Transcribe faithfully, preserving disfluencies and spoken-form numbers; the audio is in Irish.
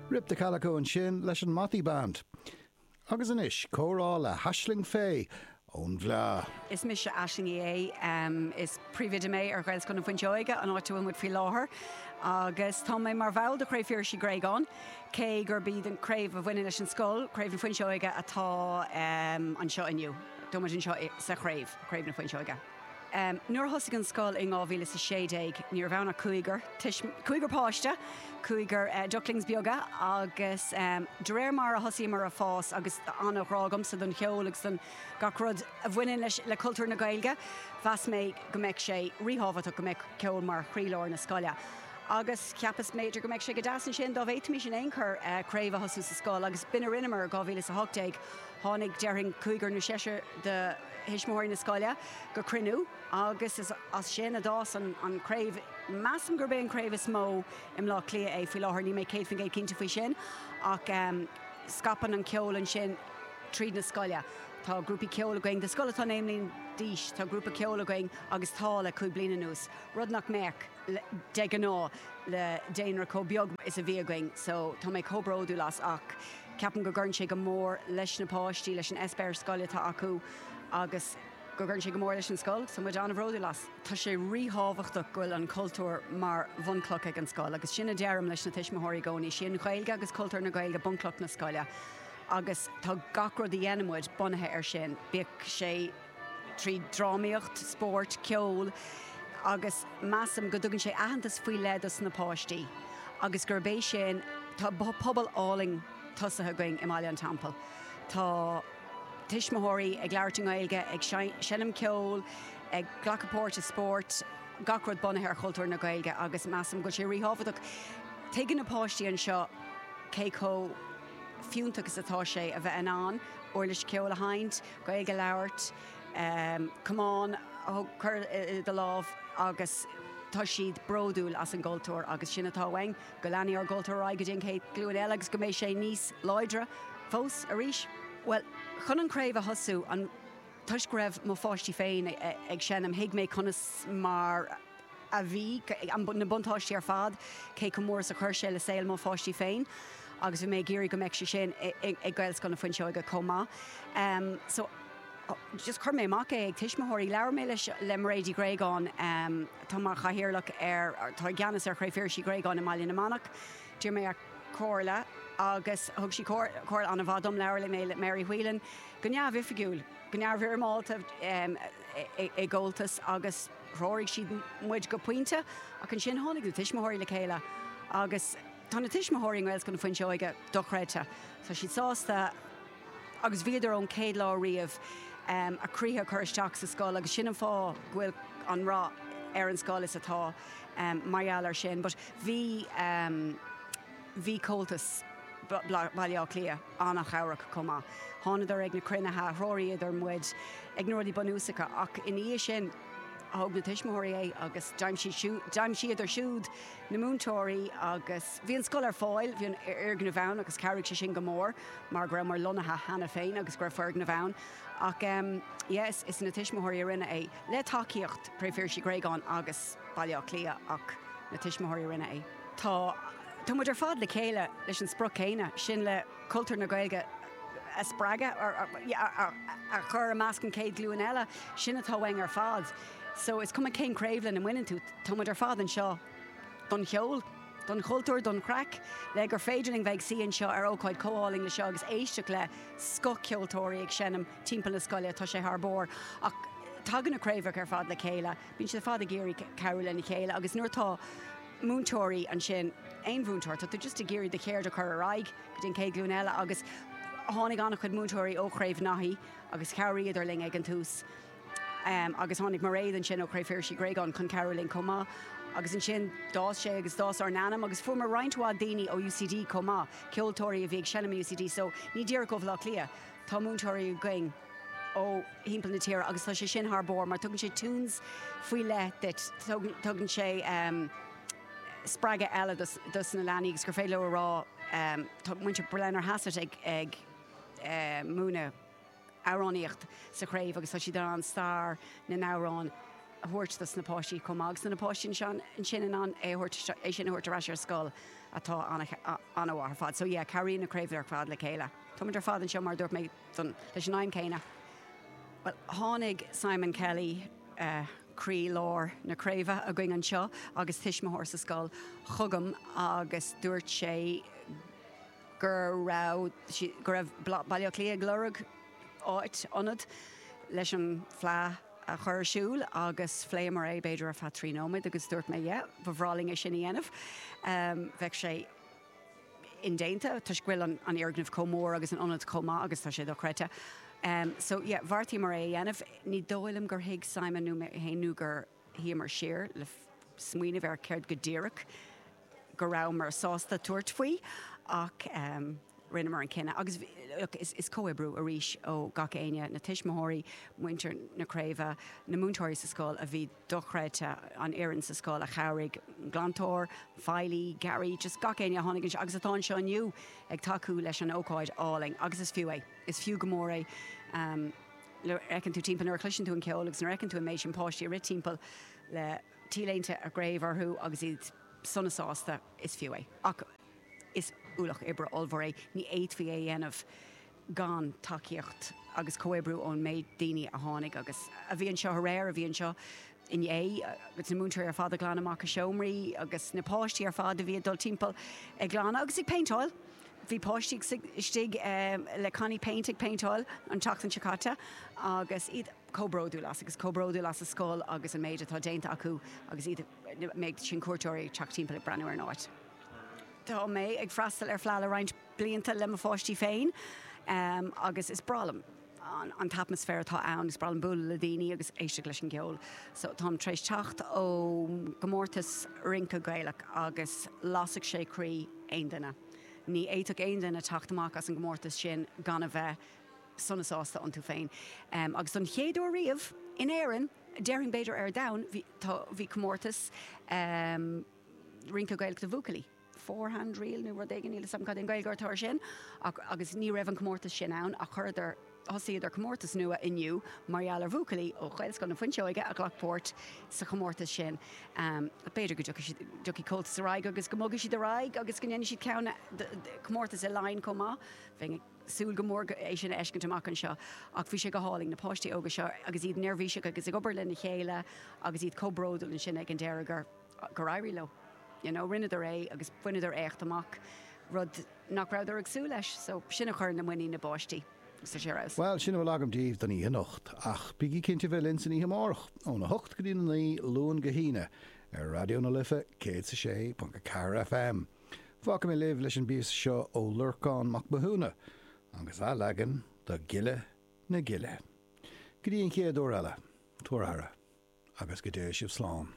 Rip the Calico ansin leis an Bothy Band. Agus anois comhrá le hAisling Fay ón bhFleá. Is mise Aisling Uí Aodha um, is príomhoide mé ar Ghaelscoil na Fuinseoige an áit a bhfuil muid faoi láthair. Agus tá mé mar bhall de Chraobh Phiarsaigh Uí Ghréagáin, cé gurb í an craobh a bhaineann leis an scoil, Craobh na Fuinseoige atá um, anseo inniu. Tá muid anseo sa chraobh, Craobh na Fuinseoige. Um, Nuair a thosaigh an scoil in dhá mhíle is sé déag ní raibh ann ach cúigear cúigear páiste, cúigear uh, ducklings beaga agus um, de réir mar a thosaíomar ag fás agus an-ghrá agamsa don cheol agus don gach rud a bhaineann leis le cultúr na Gaeilge, mheas mé go mbeadh sé ríthábhachtach go mbeadh ceol mar chroílár na scoile. Agus cheapas b'fhéidir go mbeadh sé go deas ansin dá bhféadfaimis in aon chor uh, craobh a thosú sa scoil agus b'in a rinneamar dhá mhíle is a hocht déag tháinig déarfainn cúigear nó seisear de thuismitheoirí na scoile go cruinniú agus is as sin a d'fhás an, an craobh measaim gurb é an craobh is mó i mBleá Cliath é faoi láthair níl mé céad faoin gcéad cinnte faoi sin ach um, scaipeann an ceol ansin tríd na scoile. Tá grúpaí ceoil againn, de scoil atá naoi mbliana d'aois, tá grúpa ceoil againn agus tá le cúig bliana anuas. Rud nach mbeadh de ghnáth le daonra chomh beag is a bhí againn, so tá mé chomh bródúil as ach ceapaim go gcuireann sé go mór leis na páistí leis an eispéireas scoile atá acu agus go gcuireann sé go mór leis an scoil, so muid an-bhródúil as. Tá sé ríthábhachtach go bhfuil an cultúr mar bhunchloch ag an scoil, agus sin a deirim leis na tuismitheoirí i gcónaí, sin Gaeilge agus cultúr na Gaeilge bunchloch na scoile. agus tá gach rud a dhéanaimid bunaithe ar sin, bíodh sé trí drámaíocht, spórt, ceol, agus measaim go dtugann sé aitheantas faoi leith dos na páistí. Agus gurb é sin tá pobal álainn tosaithe againn i mBaile an Teampaill. Tá tuismitheoirí ag labhairt i nGaeilge, ag seinm ceol, ag glacadh páirt i spórt, gach rud bunaithe ar chultúr na Gaeilge agus measaim go sé ríthábhachtach. Tuigeann na páistí anseo cé chomh fiúntach is atá sé a bheith in ann, uirlis ceoil a sheinnt, Gaeilge a labhairt, um, camán a chur i do lámh agus tá siad bródúil as an gcultúr agus sin atá uainn go leanfaidh ár gcultúr ar aghaidh go dtí an chéad ghlúin eile agus go mbeidh sé níos láidre fós arís. Well, chun an craobh a thosú an toisc go raibh mo pháistí féin ag seinm thuig mé conas mar a bhí na buntáistí ar fad cé chomh mór is a chuir sé le saol mo pháistí féin. agus bhí mé ag iarraidh go mbeadh sé sin ag Gaelscoil na Fuinseoige chomh maith. Um, so just chuir mé amach é ag tuismitheoirí labhair mé leis le Mairéad Ní Ghréagáin um, tá mar chathaoirleach ar tá i gceannas ar Chraobh Phiarsaigh Uí Ghréagáin i mBaile na Manach. D'iarr mé ar comhairle agus thug sí comhairle an-mhaith dom labhair mé le Mary Whelan go neamhoifigiúil, go neamhfhoirmeálta um, i gComhaltas agus threoraigh siad muid go pointe ach ansin tháinig na tuismitheoirí le chéile agus tá na tuismitheoirí i nGaelscoil na Fuinseoige dochreidte. Tá siad sásta agus bhíodar ón chéad lá riamh um, a gcroíthe chur isteach sa scoil agus sin an fáth go bhfuil an rath ar an scoil is atá um, mar gheall ar sin, but bhí um, bhí Comhaltas Baile Átha Cliath an-chabhrach chomh maith. Thánadar ag na cruinnithe threoraíodar muid ag na rudaí bunúsacha ach ina dhiaidh sin thóg na tuismitheoirí é agus d'aimsíodar siúd na múinteoirí agus bhí an scoil ar fáil, bhí an foirgneamh ann agus chabhraigh sé sin go mór mar go raibh mar lonnaithe cheana féin agus go raibh foirgneamh ann. Ach um, yes, is na tuismitheoirí a rinne é le tacaíocht Chraobh Phiarsaigh Uí Ghréagáin agus Baile Átha Cliath ach na tuismitheoirí a rinne é. Tá Tá muid ar fad le chéile leis an sprioc céanna sin le cultúr na Gaeilge a spreagadh a chur i measc an chéad ghlúin eile sin atá uainn ar fad. So is cuma cén craobh lena mbaineann tú tá muid ar fad anseo don cheol, don chultúr don chraic, le gur féidir linn bheith suí anseo ar ócáid chomh hálainn le seo agus éisteacht le scothcheoltóirí ag seinm timpeall na scoile tá sé thar barr. Ach tagann na craobhacha ar fad le chéile, bíonn siad fad ag iarraidh cabhrú lena chéile agus nuair atá múinteoirí ansin aon mhúinteoir, tá tú just ag iarraidh do cheird a chur ar aghaidh go dtí an chéad ghlúin eile agus tháinig an-chuid múinteoirí ó Chraobh Naithí agus chabhraíodar linn ag an tús. Um, agus tháinig Mairéad ansin ó Chraobh Phiarsaigh Uí Ghréagáin chun cabhrú linn chomh maith. Agus ansin d'fhás sé agus d'fhás ár n-ainm agus fuaireamar roinnt mhaith daoine ó UCD chomh maith, ceoltóirí a bhí ag seinm UCD, so ní díreach ó Bhaile Átha Cliath, tá múinteoirí againn ó thimpeall na tíre agus tá sé sin thar barr mar tugann sé tunes faoi leith duit, tugann sé um, spreagadh eile dos, dos na leanaí agus gur féidir leo a rá um, tá muintir Blennerhassett ag, ag uh, múineadh amhránaíocht sa chraobh agus tá siad an stair na n-amhrán a thabhairt dos na páistí chomh maith agus na páistí ansin in ann é é sin a thabhairt ar ais ar scoil atá an-mhaith ar fad. So yeah, cabhraíonn na craobhanna ar fad le chéile. Táimid ar fad anseo mar dúirt mé leis an aidhm céanna. Well, tháinig Simon Kelly uh, croílár na craoibhe againn anseo agus tuismitheoir sa scoil chugam agus dúirt sé gur raibh go raibh Baile Átha Cliath ag lorg áit ionad leis an Fleadh a chur ar siúl agus phléamar é b'fhéidir ar feadh trí nóiméad agus dúirt mé yeah, ba bhreá linn é sin a dhéanamh. Um, bheadh sé indéanta toisc go bhfuil an, an fhoirgneamh chomh mór agus an ionad chomh maith agus tá sé dochreidte. Um, so yeah, bheartaíomar é a dhéanamh, ní dóigh liom gur thuig Simon nó mé féin nó gur shuíomar siar le smaoineamh ar céard go díreach go rabhamar sásta tabhairt faoi ach um, rinneamar an cinneadh. Agus look, is, is comhoibriú arís ó gach éinne na tuismitheoirí, muintir na craoibhe, na múinteoirí sa scoil a bhí dochreidte an fhoireann sa scoil a chabhraigh glantóir, feighlí, Gary, just gach éinne a tháinig agus atá anseo inniu ag tacú leis an ócáid álainn agus is fiú é. Is fiú go mór é. Um, le fheiceann tú timpeall nuair a chloiseann tú an ceol agus nuair a fheiceann tú an méid sin páistí ag rith timpeall le T-léinte a gcraobh orthu agus iad sona sásta is fiú é. Ach is ualach oibre ollmhór é, ní fhéadfaí é a dhéanamh gan tacaíocht agus comhoibriú ón méid daoine a tháinig agus a bhí anseo aréir a bhí anseo inné agus na múinteoirí ar fad ag glanadh amach a seomraí agus na páistí ar fad a bhí ag dul timpeall ag glanadh agus ag péinteáil. Bhí páistí istigh um, le cannaí péint ag péinteáil an tseachtain seo caite agus iad chomh bródúil as agus chomh bródúil as a scoil agus an méid atá déanta acu agus iad méid sin cuairteoirí teacht timpeall ag breathnú ar an áit. Tá mé ag freastal ar Fleadh le roinnt blianta le mo pháistí féin um, agus is breá liom an, an t-atmaisféar atá ann is breá liom bualadh le daoine agus éisteacht leis an gceol. So táim tar éis teacht ó gcomórtas rince Gaelach agus lasfadh sé croí aon duine. Ní fhéadfadh aon duine teacht amach as an gcomórtas sin gan a bheith sona sásta iontu féin. Um, agus an chéad uair riamh in Éirinn, déarfainn b'fhéidir ar domhan bhí, bhí comórtas um, rince Gaelach do bhuachaillí. Four-hand reel nó rud éigin níl a fhios agam cad an Ghaeilge atá sin ach, agus ní raibh an comórtas sin ann ach chuireadar thosaíodar comórtas nua inniu mar gheall ar bhuachaillí ó Ghaelscoil na Fuinseoige a ghlac páirt sa chomórtas sin. Um, B'fhéidir go dtiocfaidh Comhaltas ar aghaidh agus go mbogfaidh siad ar aghaidh agus go ndéanfaidh siad ceann comórtas i Laighin chomh maith. Bheinn súil go mór é sin a fheiscint amach anseo ach bhí sé go hálainn na páistí óga seo agus iad neirbhíseach agus ag obair lena chéile agus iad chomh bródúil ansin ag an deireadh gur gur éirigh leo. You know, rinneadar é agus bhaineadar éacht amach rud nach rabhadar ag súil leis, so sin a chuireann le muinín na bpáistí. Well sin a bhfuil agam daoibh don oíche anocht ach bígí cinnte bheith linn san oíche amárach óna hocht go dtí a naoi Luan go hAoine ar Raidió na Life céad is a sé ponc a ceathair FM. Fágfaidh mé libh leis an bpíosa seo ó Lorcán Mac Mathúna agus a leagan de Gile na Gile. Go dtí an chéad uair eile, tabhair aire agus go dté sibh slán.